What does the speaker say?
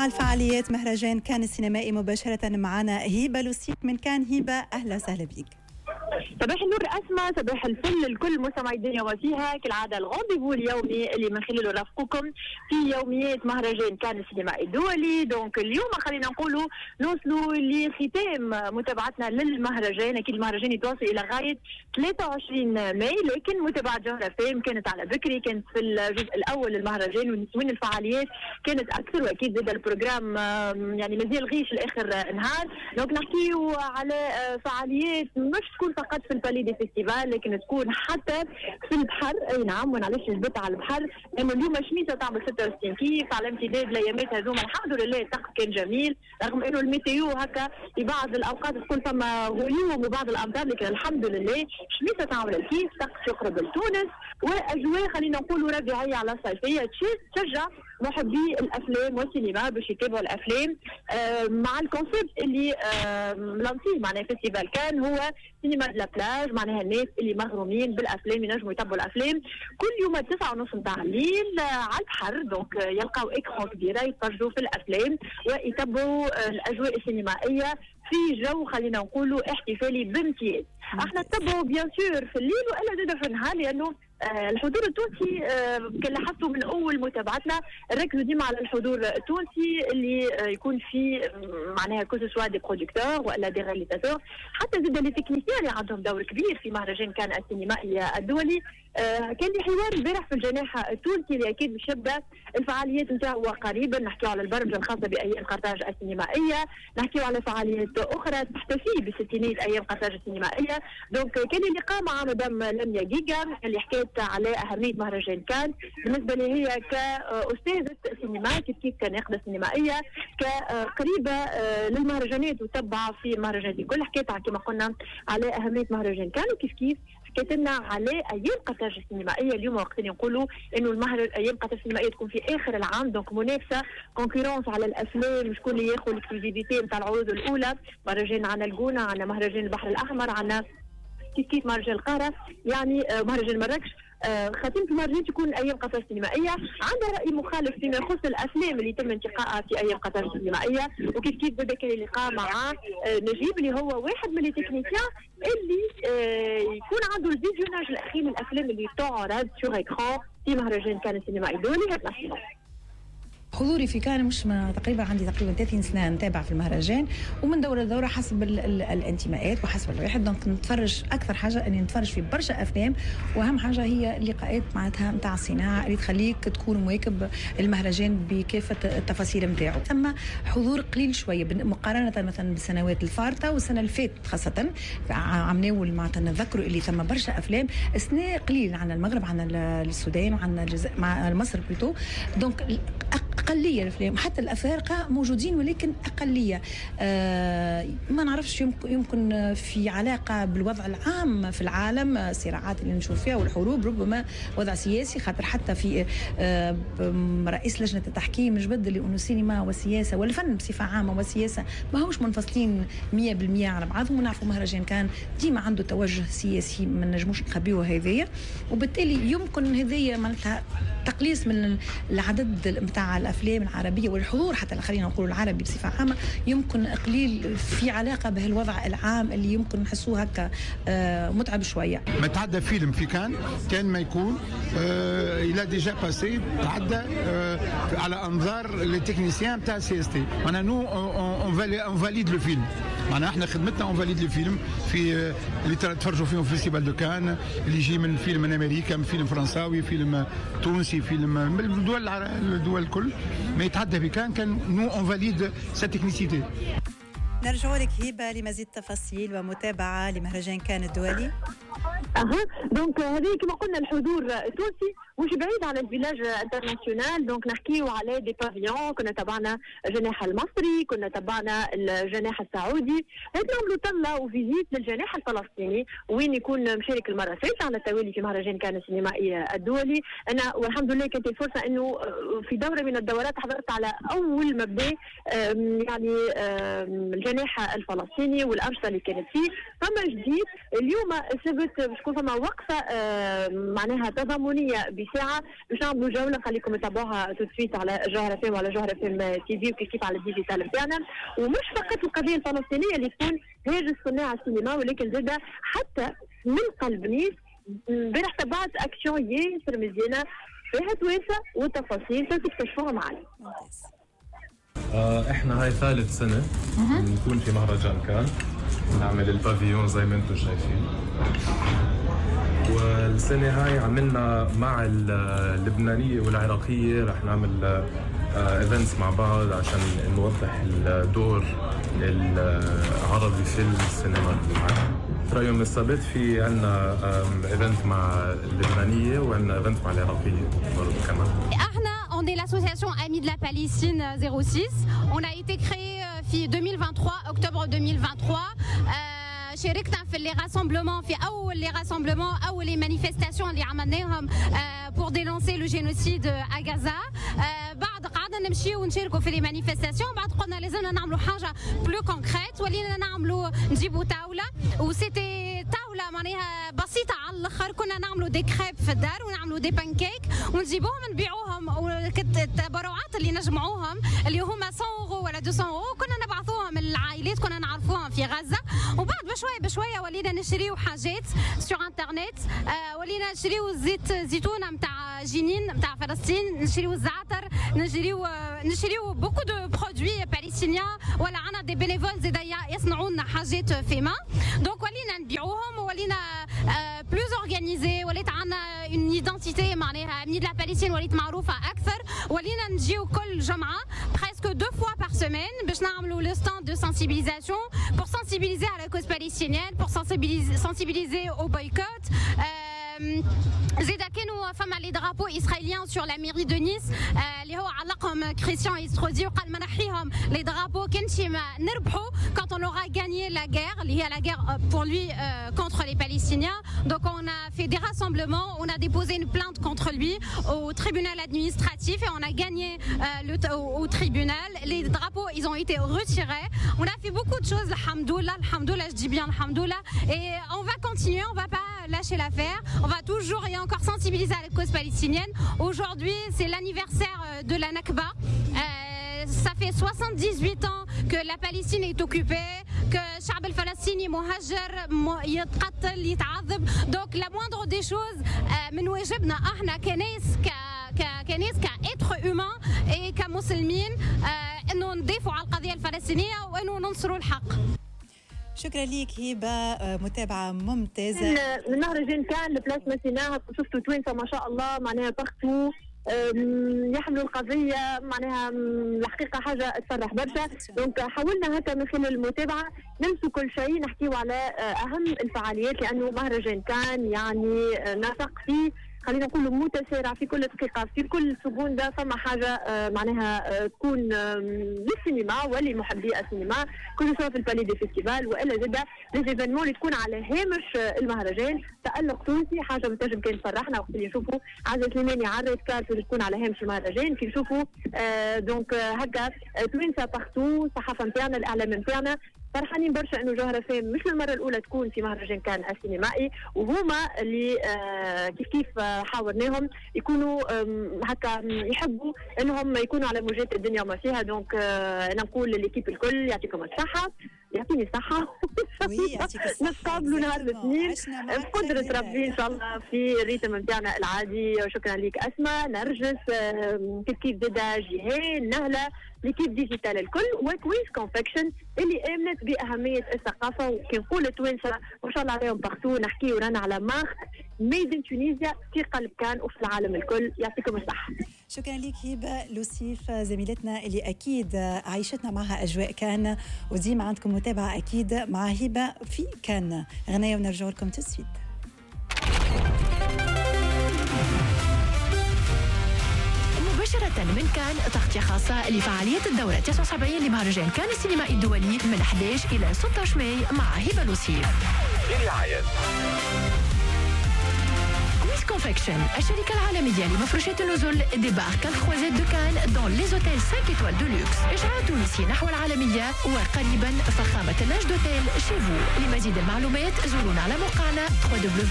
مع الفعاليات مهرجان كان السينمائي مباشرة. معنا هبة لوسيف من كان. هبة، أهلا وسهلا بك. صباح النور اسماء، صباح الفل لكل مستمعي الدنيا وفيها. كالعادة ال rendez-vous اليومي اللي من خلاله نرافقكم في يوميات مهرجان كان السينمائي الدولي. donc اليوم خلينا نقولوا نوصلوا لختام متابعتنا للمهرجان. اكيد المهرجان يتواصل الى غاية 23 ماي، لكن متابعه جوهرة اف ام كانت على بكري، كانت في الجزء الاول للمهرجان وين الفعاليات كانت اكثر، واكيد زاد ال programme يعني مازال riche لاخر نهار. donc نحكيو على فعاليات مش تكون فقط في ال palais des festivals، لكن تكون حتى في البحر. اي نعم، وانا علاش جبت على البحر؟ لانه اليوم شميسه تعمل 66 كيف على امتداد الايامات هذوما. الحمد لله الطقس كان جميل، رغم انه ال météo هكا في بعض الاوقات تكون فما غيوم وبعض الامطار، لكن الحمد لله شميسه تعمل الكيف، طقس يقرب لتونس واجواء خلينا نقولوا ربيعيه على صيفية تشجع محبي الافلام والسينما باش يتابعوا الافلام مع ال concept اللي lancé معناها festival كان هو cinéma de la plage، معناها الناس اللي مغرومين بالافلام ينجموا يتبعوا الافلام كل يوم 9:30 نتاع الليل على البحر. donc يلقاو écran كبيرة يتفرجوا في الافلام ويتبعوا الاجواء السينمائية في جو خلينا نقولوا احتفالي بامتياز. احنا نتبعوا bien sûr في الليل والا زاد في النهار، لانه الحضور التونسي كان لاحظتوا من اول متابعتنا ركزوا ديما على الحضور التونسي اللي يكون في معناها que ce soit des producteurs والا des réalisateurs، حتى زاد les techniciens اللي عندهم دور كبير في مهرجان كان السينمائي الدولي. كان لي حوار البارح في الجناح التونسي اللي اكيد باش يبدا الفعاليات نتاعو قريبا. نحكيو على البرمجة الخاصة بايام قرطاج السينمائيه، نحكيو على فعاليات اخرى تحتفي بستينيه ايام قرطاج السينمائيه. donc كان لي لقاء مع مدام لميا جيجا اللي حكيت على اهمية مهرجان كان بالنسبة لي هي كاستاذه سينما، كيف كيف كناقده سينمائيه، كقريبه للمهرجانات وتبع في المهرجانات الكل. حكيت كما قلنا على اهمية مهرجان كان، وكيف كيف حكيت لنا على ايام قرطاج السينمائية اليوم، وقت اللي نقولوا انه ايام قرطاج السينمائية تكون في اخر العام. donc منافسه concurrence على الافلام، شكون اللي ياخذ l'exclusivité نتاع العروض الاولى. مهرجان عنا الجونه، عنا مهرجان البحر الاحمر، عنا كيف كيف مهرجان القاهره، يعني مهرجان مراكش. خاتمة المهرجان تكون ايام قطر السينمائية. عندها راي مخالف فيما يخص الافلام اللي تم انتقائها في ايام قطر السينمائيه. وكيف كيف بدا كان اللقاء مع نجيب اللي هو واحد من les techniciens اللي يكون عنده ال visionnage الاخير من الافلام اللي تعرض sur écran في مهرجان كان السينمائي الدولي. حضوري في كان مش تقريبا عندي تقريبا 30 سنة نتابع في المهرجان، ومن دوره لدوره حسب الانتماءات وحسب الواحد. donc نتفرج اكثر حاجة اني نتفرج في برشا افلام، واهم حاجة هي اللقاءات معناتها نتاع الصناعة اللي تخليك تكون مواكب المهرجان بكافة التفاصيل نتاعو. ثم حضور قليل شوية مقارنة مثلا بالسنوات الفارطه والسنة اللي فاتت، خاصة عمناول معناتها نذكروا اللي ثم برشا افلام. السنة قليل، عندنا المغرب، عندنا السودان، وعندنا الجزائر مع مصر plutôt، donc اقلية الافلام. حتى الافارقة موجودين ولكن اقليه. ما نعرفش، يمكن في علاقة بالوضع العام في العالم، الصراعات اللي نشوف فيها والحروب، ربما وضع سياسي، خاطر حتى في رئيس لجنة التحكيم جبد اللي انه السينما والسياسة والفن بصفة عامة والسياسة ما هوش منفصلين 100% على بعضهم. ونعرفوا مهرجان كان ديما عنده توجه سياسي، ما نجموش نخبيوه هذايا، وبالتالي يمكن هذايا معناتها تقليص من العدد نتاع الافلام العربية والحضور حتى خلينا نقول العربي بصفة عامة يمكن قليل في علاقة بهالوضع العام اللي يمكن نحسوه هكا متعب شويه. ما تعدى فيلم في كان كان ما يكون il a déjà passé تعدى على انظار les techniciens تاع CST. معناها nous on valide le film، معناها احنا خدمتنا on valide le film في اللي تفرجوا فيهم في festival de Cannes، اللي يجي من فيلم من امريكا، من فيلم فرنساوي، فيلم تونسي، فيلم من الدول الكل، ما يتعدى في كان كان nous on valide sa technicité. نرجع لك هبه لمزيد تفاصيل ومتابعة لمهرجان كان الدولي. اها، donc هذه كما قلنا الحضور التونسي مش بعيد على ال village international. donc نحكيو على des pavillons، كنا تبعنا الجناح المصري، كنا تبعنا الجناح السعودي، هيك نعملوا طلة و visite للجناح الفلسطيني وين يكون مشارك المرة الثالثة على التوالي في مهرجان كان السينمائي الدولي. انا والحمد لله كانت الفرصة انه في دوره من الدورات حضرت على اول ما بدا يعني الجناح الفلسطيني والانشطه اللي كانت فيه. فما جديد اليوم السبت باش تكون فما وقفه معناها تضامنيه. بساعة باش نعملوا جولة، نخليكم تتابعوها tout de suite على جوهرة اف ام وعلى جوهرة اف ام تي في وكيف كيف على ال digital نتاعنا. ومش فقط القضية الفلسطينية اللي تكون هاجس صناع السينما، ولكن زادة حتى من قلب نيس امبارح تبعت اكشن ياسر مزيانه فيها توانسة والتفاصيل تكتشفوها معنا. احنا هاي ثالث سنة نكون في مهرجان كان، نعمل ال pavillon زي ما انتم شايفين. والسنة هاي عملنا مع اللبنانية والعراقيه، رح نعمل events مع بعض عشان نوضح الدور العربي في السينما. ترى يوم السبت في عندنا event مع اللبنانية وعندنا event مع العراقية برضه كمان. احنا on est l'association Amis de la Palestine 06. On a été créé في 2023 octobre 2023. شاركنا في les rassemblements، في اول les rassemblements، اول les manifestations اللي عملناهم pour dénoncer le génocide à Gaza. بعد قعدنا نمشيو ونشاركوا في les manifestations، بعد قلنا لازمنا نعملوا حاجة plus concrète، ولينا نعملوا نجيبوا طاولة، و c'était طاولة معناها بسيطة على الاخر، كنا نعملوا des crêpes في الدار ونعملوا des pancakes ونجيبوهم نبيعوهم، التبرعات اللي نجمعوهم اللي هما 100 اورو ولا 200 اورو كنا نبعثوهم للعائلات كنا نعرفوهم في غزة. وبعد بشوية بشوية ولينا نشريو حاجات sur internet، ولينا نشريو زيت زيتونه نتاع جنين نتاع فلسطين، نشريو الزعتر، نشريو beaucoup de produits palestiniens، ولا عندنا des bénévoles زيد يصنعوا لنا حاجات fait main. donc ولينا نبيعوهم ولينا plus organisés، وليت عندنا une identité معناها Amis de la Palestine وليت معروفة اكثر. ولينا نجيو كل جمعه presque deux fois par semaine باش نعملوا le stand de sensibilisation pour sensibiliser à la cause palestinienne, pour sensibiliser au boycott. زيدا كانوا فما les drapeaux israéliens sur la mairie de Nice اللي هو علقهم كريستيان ايستروزي وقال ما نحيهم les drapeaux كان ما نربحوا quand on aura gagné la guerre اللي هي la guerre pour lui contre les Palestiniens. Donc on a fait des rassemblements, on a déposé une plainte contre lui au tribunal administratif et on a gagné au tribunal. Les drapeaux ils ont été retirés. On a fait beaucoup de choses, الحمد لله, الحمد لله, je dis bien الحمد لله, et on va continuer, on va pas lâcher l'affaire, on va toujours et encore sensibiliser à la cause palestinienne. Aujourd'hui, c'est l'anniversaire de la Nakba. Ça fait 78 ans que la Palestine est occupée, que الشعب الفلسطيني مهجر، يتقتل، يتعذب. Donc la moindre des choses من واجبنا احنا كناس كناس ك êtres humains et كمسلمين انه ندافعوا على القضية الفلسطينية وانه ننصروا الحق. شكرا ليك هبه، متابعه ممتازة. من مهرجان كان Place Masséna شفتوا توانسة ما شاء الله معناها partout يحملوا القضية، معناها الحقيقة حاجة تفرح برشا. donc حاولنا هكا من خلال المتابعة نمسوا كل شيء، نحكيو على اهم الفعاليات، لانه مهرجان كان يعني نسق فيه خلينا نقول متسارع في كل دقيقة في كل seconde، فما حاجة معناها تكون للسينما ولمحبي السينما، que ce soit في ال Palais des Festivals والا زاده les événements اللي تكون على هامش المهرجان. تألق تونسي حاجة بتنجم كان تفرحنا وقت اللي نشوفوا عزة سليماني على ال red carpet اللي تكون على هامش المهرجان، كي نشوفوا donc هكا توانسة partout، الصحافة نتاعنا الاعلام نتاعنا فرحانين برشا انه جوهرة اف ام مش للمرة الاولى تكون في مهرجان كان السينمائي، وهما اللي كيف كيف حاورناهم يكونوا هكا يحبوا انهم يكونوا على موجات الدنيا وما فيها. donc انا نقول ل l'équipe الكل يعطيكم الصحة، يعطيني الصحة، نتقابلوا نهار الاثنين بقدرة ربي إن شاء الله في ال rythme نتاعنا العادي. شكرا لك أسماء، نرجس، كيف كيف زادا جيهان، نهلة، l'équipe digitale الكل، وكويس كونفكشن اللي آمنت بأهمية الثقافة. وكي نقول التوانسة ما شاء الله عليهم partout، نحكيو رانا على marque made in Tunisia في قلب كان وفي العالم الكل. يعطيكم الصحة. شكرا لك هبة لوسيف زميلتنا اللي أكيد عيشتنا معها أجواء كان، وديما عندكم متابعة أكيد مع هبة في كان. غناية ونرجع لكم tout de suite. مباشرة من كان، تغطية خاصة لفعالية الدورة 79 لمهرجان كان السينمائي الدولي من 11 إلى 16 ماي مع هبة لوسيف. برعاية كويس كونفكشن، الشركة العالمية لمفروشات النزل، débarque à la Croisette de Cannes dans les hôtels 5 étoiles de luxe. إشعاع تونسي نحو العالمية، وقريبا فخامة linge d'hôtel chez vous. لمزيد المعلومات زورونا على موقعنا www.